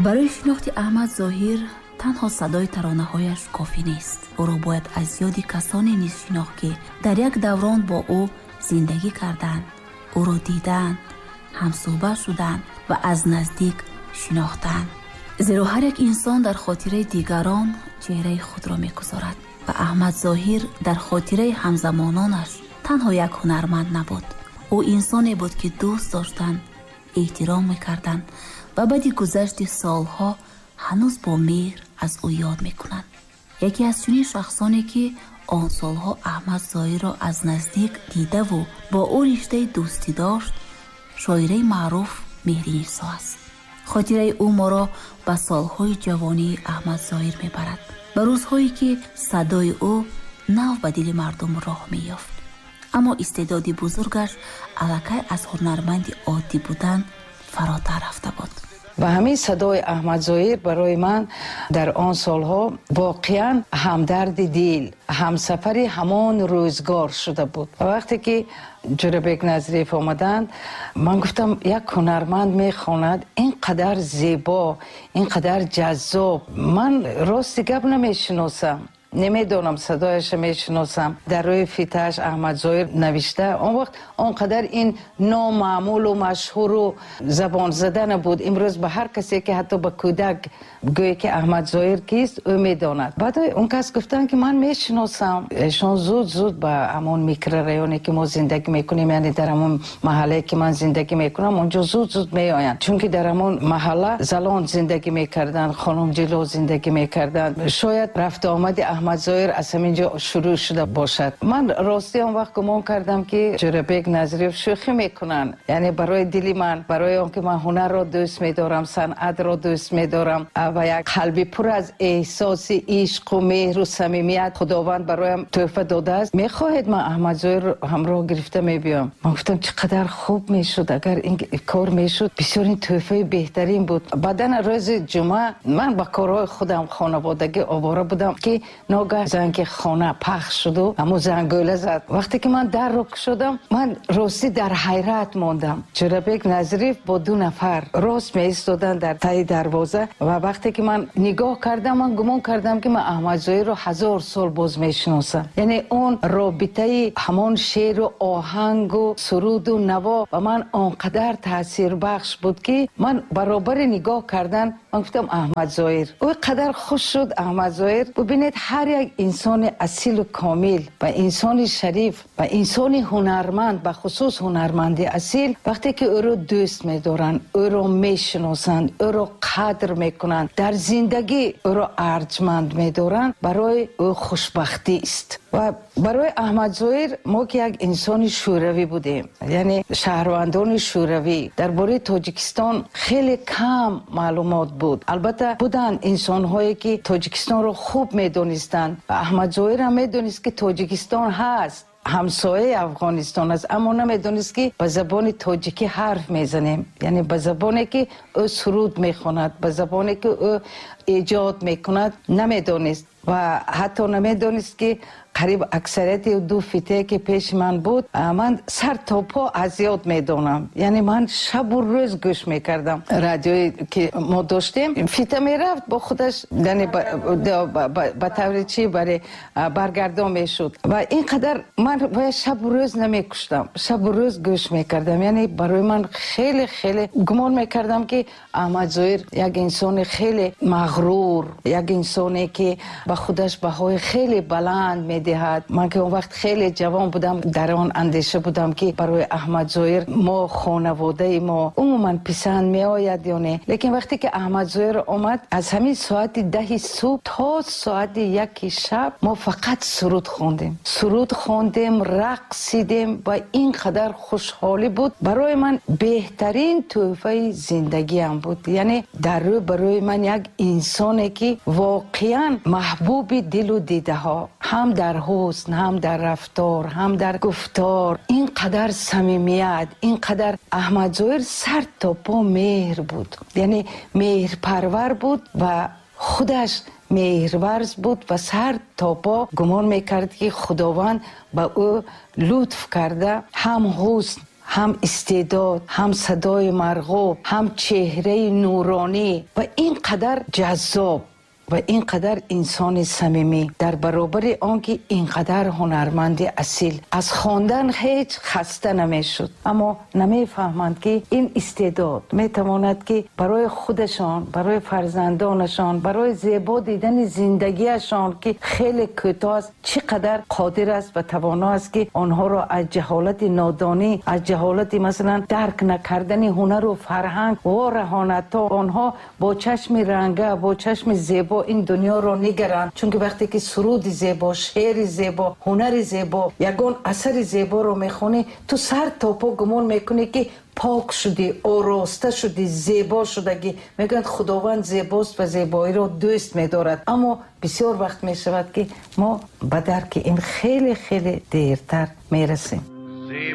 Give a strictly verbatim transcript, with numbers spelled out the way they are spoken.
Барои шинохти Аҳмад Зоҳир танҳо садои таронаҳояш кофӣ нест. Ӯро бояд аз ёди касоне низ шинохт, ки дар як даврон бо ӯ зиндагӣ карданд, ӯро дидаанд, ҳамсӯҳбат шуданд ва аз наздик шинохтанд. Зеро ҳар як инсон дар хотираи дигарон чеҳраи худро мегузорад ва Аҳмад Зоҳир дар хотираи ҳамзамононаш танҳо як ҳунарманд набуд. Ӯ инсоне буд, ки дӯст доштанд, эҳтиром мекарданд ва баъди гузашти солҳо ҳанӯз бо меҳр аз ӯ ёд мекунанд. Яке аз чунин шахсоне, ки он солҳо Аҳмад Зоҳирро аз наздик дидаву бо ӯ риштаи дӯстӣ дошт, шоираи маъруф Меҳринисо аст. Хотираи ӯ моро ба солҳои ҷавонии Аҳмад Зоҳир мебарад, ба рӯзҳое, ки садои ӯ нав ба дили мардум роҳ меёфт. Аммо истеъдоди бузургаш аллакай аз ҳунарманди оддӣ будан фаротар рафта буд. Ва ҳамин садои Аҳмад Зоҳир барои ман дар он солҳо воқеан ҳамдарди дил, ҳамсафари ҳамон рӯзгор шуда буд. Ва вақте ки Ҷӯрабек Назриев омаданд, ман гуфтам, як ҳунарманд мехонад ин қадар зебо, ин қадар ҷаззоб, ман рости гап намешиносам, намедонам, садояшро мешиносам. Дар рӯи фитааш Аҳмад Зоҳир навишта. Он вақт он қадар ин номаъмулу машҳуру забонзада набуд. Имрӯз ба ҳар касе ки ҳатто ба кӯдак гӯе ки Аҳмад Зоҳир кист, ӯ медонад. Баъд он кас гуфтанд, ки ман мешиносам. Эшон зуд зуд ба ҳамон микрорайоне ки мо зиндагӣ мекунем, яъне дар ҳамон маҳаллае ки ман зиндагӣ мекунам, онҷо зуд зуд меоянд, чунки дар ҳамон маҳалла залон зиндагӣ мекарданд, хонум ҷило зиндагӣ мекарданд. Шояд рафту омади Аҳмад Зоҳир аз ҳамин ҷо шурӯъ шуда бошад. Ман ростӣ он вақт гумон кардам, ки Ҷӯрабек Назриев шӯхӣ мекунанд, яъне барои дили ман, барои он ки ман ҳунарро дӯст медорам, санъатро дӯст медорам ва як қалби пур аз эҳсоси ишқу меҳру самимият Худованд бароям тӯҳфа додааст. Мехоҳед, ман Аҳмад Зоҳирро ҳамроҳ гирифта мебиём? Ман гуфтам, чӣ қадар хуб мешуд, агар ин кор мешуд, бисёр ин тӯҳфаи беҳтарин буд. Баъдан рӯзи ҷумъа ман ба корҳои худам хонаводагӣ овора будам, ки ногаҳ занги хона пахш шуду ҳамун зангӯла зад. Вақте ки ман дарро кушодам, ман ростӣ дар ҳайрат мондам. Ҷӯрабек Назриев бо ду нафар рост меистоданд дар таи дарвоза ва вақте ки ман нигоҳ кардам, ман гумон кардам, ки ман Аҳмад Зоҳирро ҳазор сол боз мешиносам. Яъне он робитаи ҳамон шеъру оҳангу суруду наво ба ман он қадар таъсирбахш буд, ки ман баробари нигоҳ кардан ман гуфтам, Аҳмад Зоҳир. Ӯ қадар хуш шуд Аҳмад Зоҳир. Бубинед, ҳар як инсони асилу комил ва инсони шариф ва инсони ҳунарманд, ба хусус ҳунарманди асил, вақте ки ӯро дӯст медоранд, ӯро мешиносанд, ӯро қадр мекунанд, дар зиндагӣ ӯро арҷманд медоранд, барои ӯ хушбахтист. Ва барои Аҳмад Зоҳир, мо ки як инсони шӯравӣ будем, яъне шаҳрвандони шӯравӣ, дар бораи Тоҷикистон хеле кам маълумот буд. Албатта, буданд инсонҳое ки Тоҷикистонро хуб медонистанд. Аҳмад Зоҳир ҳам медонист, ки Тоҷикистон ҳаст, ҳамсояи Афғонистон аст, аммо намедонист, ки ба забони тоҷикӣ ҳарф мезанем, яъне ба забоне ки ӯ суруд мехонад, ба забоне ки ӯ эҷод мекунад, намедонист ва ҳатто намедонист, ки қариб аксарияти ду фитае ки пеши ман буд, ман сар то по аз ёд медонам. Яъне ман шабу рӯз гӯш мекардам. Радиое ки мо доштем, фита мерафт бо худаш, яъне ба таври чӣ баре баргардон мешуд ва ин қадар ман бояд шабу рӯз намекуштам, шабу рӯз гӯш мекардам. Яъне барои ман хеле хеле гумон мекардам, ки Аҳмад Зоҳир як инсони хеле мағрур, як инсоне ки ба худаш баҳои хеле баланд медиҳад. Ман ки он вақт хеле ҷавон будам, дар он андеша будам, ки барои Аҳмад Зоҳир мо, хонаводаи мо умуман писанд меояд ё не. Лекин вақте ки Аҳмад Зоҳир омад, аз ҳамин соати даҳи субҳ то соати яки шаб мо фақат суруд хондем, суруд хондем, рақсидем ва ин қадар хушҳолӣ буд. Барои ман беҳтарин тӯҳфаи зиндагиам буд. Яъне дар рӯ барои ман як инсоне ки воқеан маҳбуби дилу дидаҳо, ҳам дар ҳусн, ҳам дар рафтор, ҳам дар гуфтор, ин қадар самимият, ин қадар Аҳмад Зоҳир сар то по меҳр буд, яъне меҳрпарвар буд ва худаш меҳрварз буд ва сар то по гумон мекард, ки Худованд ба ӯ лутф карда, ҳам ҳусн, Ҳам истеъдод, ҳам садои марғуб, ҳам чеҳраи нуронӣ ва ин қадар ҷаззоб ва ин қадар инсони самимӣ, дар баробари он ки ин қадар ҳунарманди асил, аз хондан ҳеҷ хаста намешуд. Аммо намефаҳманд, ки ин истеъдод метавонад, ки барои худашон, барои фарзандонашон, барои зебо дидани зиндагиашон, ки хеле кӯтоҳ аст, чӣ қадар қодир аст ва тавоно аст, ки онҳоро аз ҷаҳолати нодонӣ, аз ҷаҳолати масалан дарк накардани ҳунару фарҳанг вораҳонад, то онҳо бо чашми ранга, бо чашми зебо ин дунёро нигаранд. Чунки вақте ки суруди зебо, шеъри зебо, ҳунари зебо, ягон асари зеборо мехонӣ, ту сар то по гумон мекунӣ, ки пок шудӣ, ороста шудӣ, зебо шудагӣ. Мегӯянд, Худованд зебост ва зебоиро дӯст медорад, аммо бисёр вақт мешавад, ки мо ба дарки ин хеле хеле дертар мерасем.